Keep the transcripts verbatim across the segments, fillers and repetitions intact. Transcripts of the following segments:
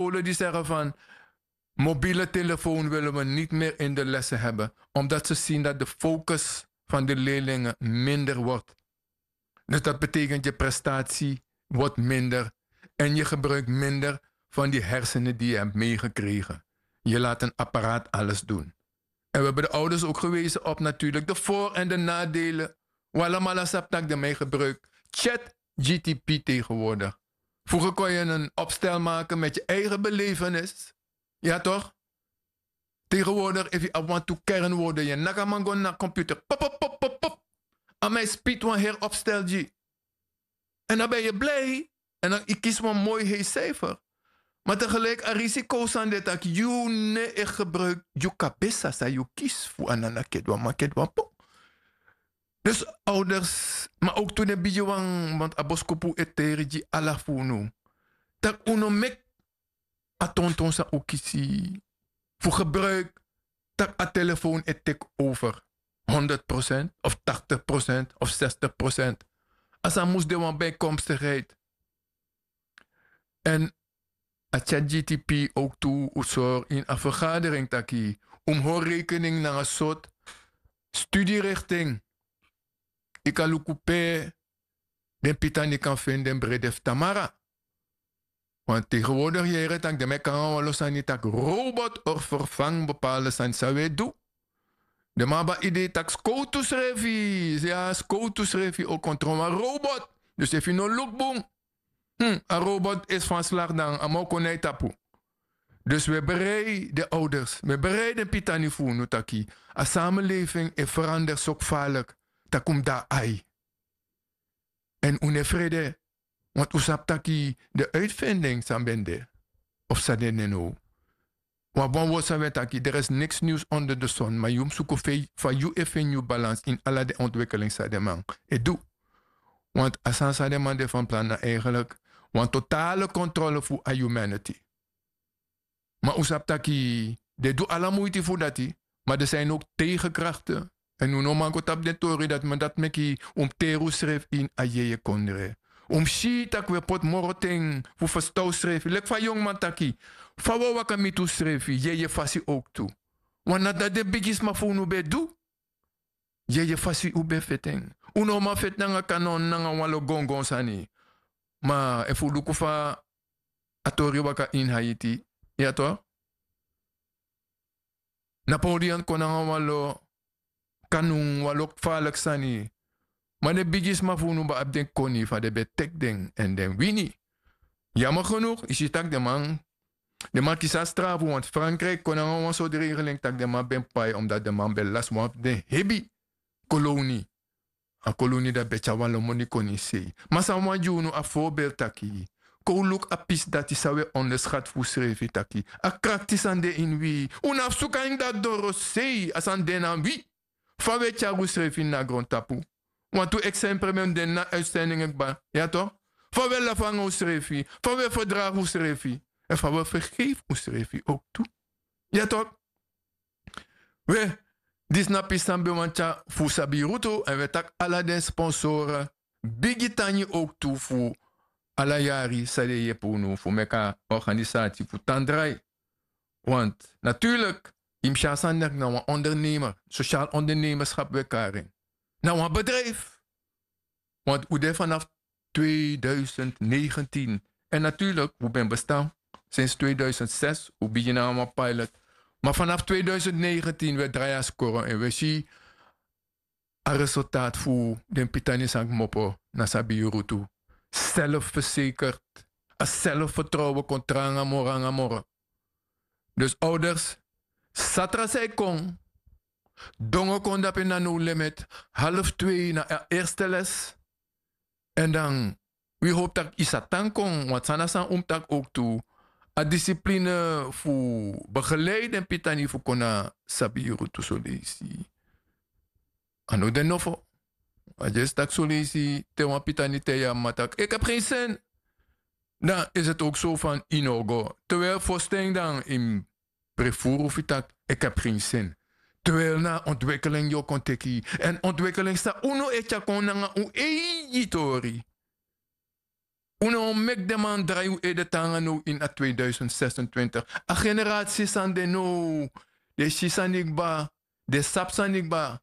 scholen die zeggen van mobiele telefoon willen we niet meer in de lessen hebben, omdat ze zien dat de focus van de leerlingen minder wordt. Dus dat betekent je prestatie wordt minder en je gebruikt minder van die hersenen die je hebt meegekregen. Je laat een apparaat alles doen. En we hebben de ouders ook gewezen op natuurlijk de voor- en de nadelen. Walamala saptak de mij gebruikt. Chat G T P tegenwoordig. Vroeger kon je een opstel maken met je eigen belevenis. Ja toch? Tegenwoordig, if you want to kernwoorden, je nakaman go naar computer. Pop, pop, pop, pop, pop. Aan mij speed wan her opstel G. En dan ben je blij. En dan ik kies wan mooi heet cijfer. Maar tegelijk a risico san de tak you ne e gebruik you kabesa sa you kies fu anana kedwa ma kedwa po. Dus ouders, maar ook toen de bigi wan want a boskopu e teri gi ala fu unu. Tak unu mek a tonton san u kisi fu gebruik tak a telefoon e take over honderd procent of tachtig procent of zestig procent. A san mus de wan bijkomstigheid. En a chat G T P ook tu u sor in a vergadering taki un hori rekening nanga sort studierichting. Ika luku pe den pitani kan feni den brede fu tamara. Want tegenwoordig yere tak den meki nanga wan lo sani tak robot or vervang bepaalde sani san we du. Den man abi a idee tak skowtu srefi, ya skowtu srefi o kontro wan robot. Dus efu yu no luku bun, a robot isi fan slagi dan a man o kon na yu tapu. Dus we berei den ouders, we berei den pitani fu unu taki a samelefing e ferander so kfalik, tak' un mus de na ai. Èn un no e frede, want un sabi taki den uitvinding san ben de of san de nen now. Wan bon word san wi e taki deri isi niks niws onder de son ma yu mus suku fa yu e feni yu balans ini ala den ontwikeling san den man e du. Want a sani san den man de fan plan na eigenlik wan totale kontrole fu a humanity. Ma un sabi taki den e du ala muiti fu dati. Ma den saini oki tegenkrakte. Èn un no man go tapu den tori dati ma dati meki un mus teri unsrefi ini a yeye kondre. Un mus si tak' un e poti moro ten fu ferstan unsrefi leki fa a yonguman taki, fa un e waka miti unsrefi yeye fasi owktu. Wan na dati den bigisma fu unu ben e du. Yeye fasi un ben e feti en. Un no man feti nanga kanon nanga wan lo gongon sani. Ma efu un luku fa a tori waka ini haiti, ya to? Napoleon kon nanga wan lo kanun wan lo kfaliki sani. Ma den bigisma fu unu ben abi den koni fa den ben teki den èn den wini. Yama genuk yu si tak' den man den man kisi a strafu wantu frankriki kon nanga wan sortu regeling tak' den man ben pai omdati den man ben lasi wan fu den hebi koloni. A koloni dati ben tyari wan lo moni kon ini sei. Ma san wan gi unu a forbel taki kon un luku a pisi dati san un e onderskati fu unsrefi taki a krakti sani de ini wi. Un no abi suku a ini dati dorosei a sani de na wi. Fa un e tyari unsrefi ini a grontapu. Wantu eksempre mi e mus de ini a uitstendingi kba, ya to? Fa un e lafu nanga unsrefi, fa un e ferdragi unsrefi èn fa un e fergefi unsrefi owktu. Ya to? We, disi na pisi san mi ben wani tyari fu un sabi yu rutu èn un e taki ala den sponsore bigi tangi owktu fu ala yari san den e yepi unu fu meki a organisati fu tan drai. Want naturlik yu mus si a sani leki na wan ondernemer, sosial ondernemerskap we kari en na wan bedrijfi. Want un de fanafu tweeduizend negentien. Èn naturlik un ben bestan sinsi tweeduizend zes un bigin nanga wan pilot. Ma fanafu tweeduizend negentien un e drai a skoro èn un e si a resultati fu den pitani san kmopo na sabi yu rutu. Selfversekert, a selfvertrouwen kon tranga moro nanga moro. Dus ouders, satra san e kon, dongo kon dape na no limit, half twee na a eerste les. Èn dan wi hopi tak' yu sa tan kon want san na san un mus taki owktu. A disipline fu begelei den pitani fu kon na sabi yu rutu soleisi. A no de nofo. A dyesi taki soleisi te wan pitani te yu a mama taki eki abi gen sen. Dan isi eti owkso fan yu no o go. Terwijli fosten dan yu mus prefuru fu yu taki eki abi gen sen. Terwijli na ontwikeling yu o kon teki yu èn ontwikeling san unu e tyari kon nanga un eigi tori. Un no o meki den man drai un ede tan nanga now ini a tweeduisend zesentwintig. A generasi san de now, den e si sani kba, den e sabi sani kba.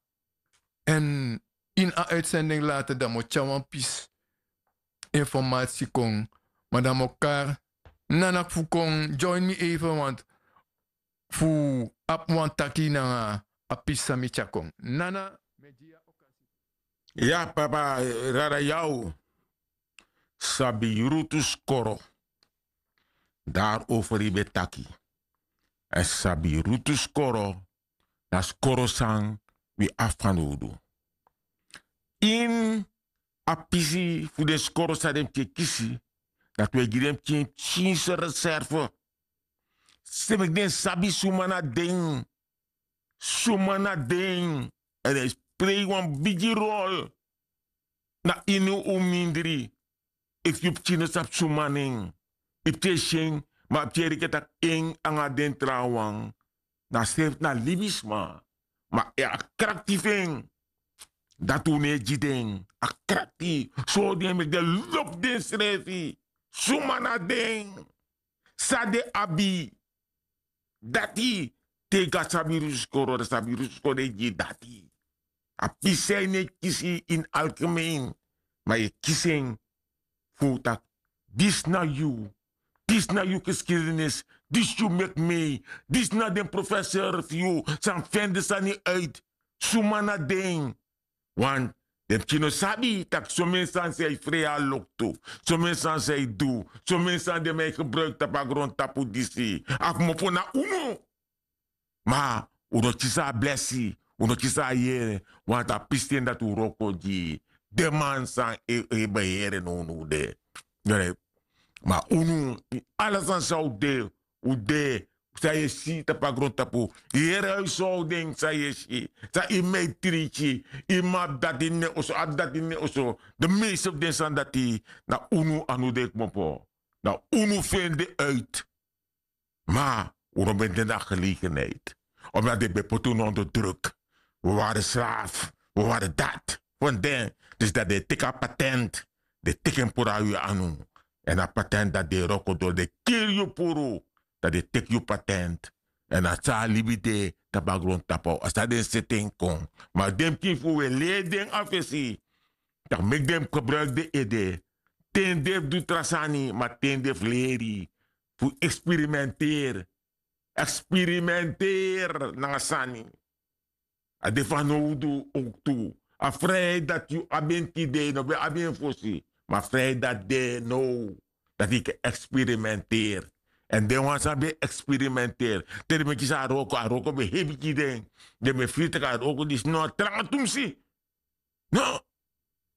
Èn ini a uitsending later dan mi o tyari wan pisi informasi kon. Ma dan mi o kari nana fu kon join mi even want fu abi wan taki nanga a pisi san mi tyari kon nana. Mi e gi yu a okasi. Ya papa, rara yaw. Sabi rutu skoro. Dari over yu ben taki. Èn sabi rutu skoro, na skoro san wi abi fanowdu. Ini a pisi fu den skoro san den pikin e kisi, dati wi e gi den pikin pikinse reserve. San meki den sabi suma na den. Suma na den. Èn den e prei wan bigi rol na ini un mindri. Efu yu pikin no sabi suma na en, yu pikin e si en, ma a pikin e reke tak' en nanga den trawan na srefi na libisma. Ma a krakti fu en, dati un no e gi den. A krakti, sori den meki den lobi densrefi. Suma na den? San den abi? Dati, te yu go na sabi rusu skoro, dan sabi rusu skoro e gi yu dati. A pisi san yu no e kisi ini algemeen, ma yu e kisi en fu taki disi na yu, disi na yu geskidenis, disi yu meki mee, disi na den professor fu yu san feni den sani uit. Suma na den? Want den pikin no sabi tak' someni sani san yu frei a loktu, someni sani san yu du, someni sani den man e gebruiki tapu a grontapu disi, a kmopo na unu. Ma un no kisi a blesi, un no kisi a yere, want a pisten dati un wroko gi den man san e e ben yere nownow de. Ma unu, ala sani san un de, un de, san yu e si tapu a grontapu, yu yere a yu sowden san yu e si, san yu meitriki, yu man abi dati ini en oso, abi dati ini en oso. Den meeste fu den sani dati na unu a no de kmopo. Na unu feni den uit. Ma un no ben de na gelegenheid, omdat den ben poti unu onder druk. We wari slaaf, we wari dati fu den. Dus dati den e teki a patent, den e teki en puru na wi anu. Èn a patent dati den e wroko doro, den e kiri yu puru, dati den e teki yu patent. Èn a san a libi de tapu a grontapu, a san den seti en kon. Ma den pikin fu wi e leri den a fesi tak' meki den gebruiki den ede. Ten den fu du tra sani, ma ten den fu leri, fu eksperimenteri. Eksperimenteri nanga sani. A de fanowdu owktu. A frijheid dati yu abi en tide, yu no ben abi en fosi. Ma a frijheid dati de now, dati yu kan eksperimenteri. Èn den wan san ben eksperimenteri, te den ben kisi a wroko, a wroko ben hebi gi den. Den ben firi tak' a wroko disi no tranga tumsi. No.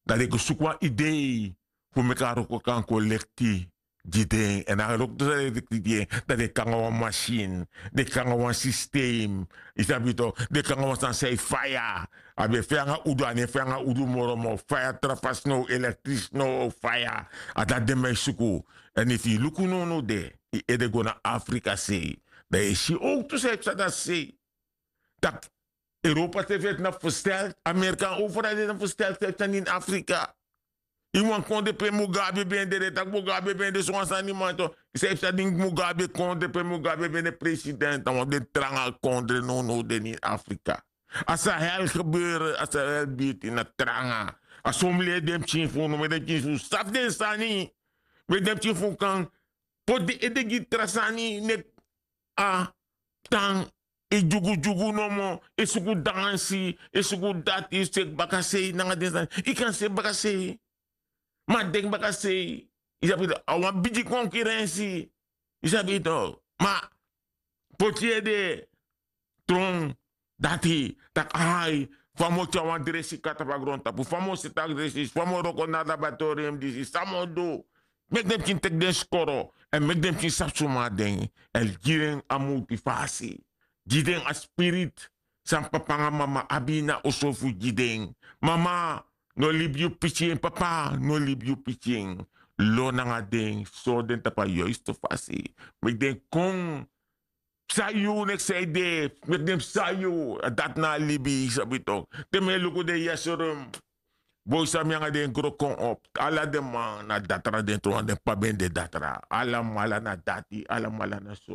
Dan den go suku wan idei fu meki a wroko kan kolekti gi den. Èn a wroko san den e kolekti gi en, dan den kon nanga wan masin, den kon nanga wan sistem. Yu sabi tok, den kon nanga wan sani san e faya. A ben faya nanga udu, a no e faya nanga udu moro, ma a o faya tra fasi now, elektris now, a o faya. A dati den man e suku. Èn efu yu luku nownow de, yu ede go na Afrika sei, dan yu e si owktu san e psa dati sei. Tak' Europa srefi na versteld, Amerika overal de na versteld, san e psa ini Afrika. Ini wan kondre pe Mugabe ben de, den taki Mugabe ben de so wan sani man tok. San e psa ini Mugabe kondre pe Mugabe ben de president, na wan fu den tranga kondre nownow de ini Afrika. A Sahel gebeuren, a Sahel birti na tranga. A so mi leri den pikin fu unu, meki den pikin fu unu sabi den sani. Meki den pikin fu unu kan poti den ede gi tra sani, meki a tan e dyugudyugu nomo, e suku dansi, e suku dati, e seki bakasei nanga den sani. Yu kan seki bakasei, ma denki bakasei, yu sabi tok, a wan bigi konkurensi. Yu sabi tok, ma poti ede tron dati, taki ai, fa mi o tyari wan dresi kon na tapu a grontapu, fa mi o seti a dresi, fa mi o wroko na laboratorium disi, san mi o du. Meki den pikin teki den skoro, èn meki den pikin sabi suma na den, èn gi den a motivasi, gi den a spirit san papa nanga mama abi na oso fu gi den. Mama, no libi yu pikin, papa, no libi yu pikin. Lon nanga den, sori den tapu a yuistu fasi. Meki den kon psa yu, neks san yu de, meki den psa yu, dati na a libi, yu sabi tok. Te mi e luku den yesrum, Boi san mi nanga den gro kon op, ala den man na datra den tron den p'pa ben de datra, alamala na dati alamala na so.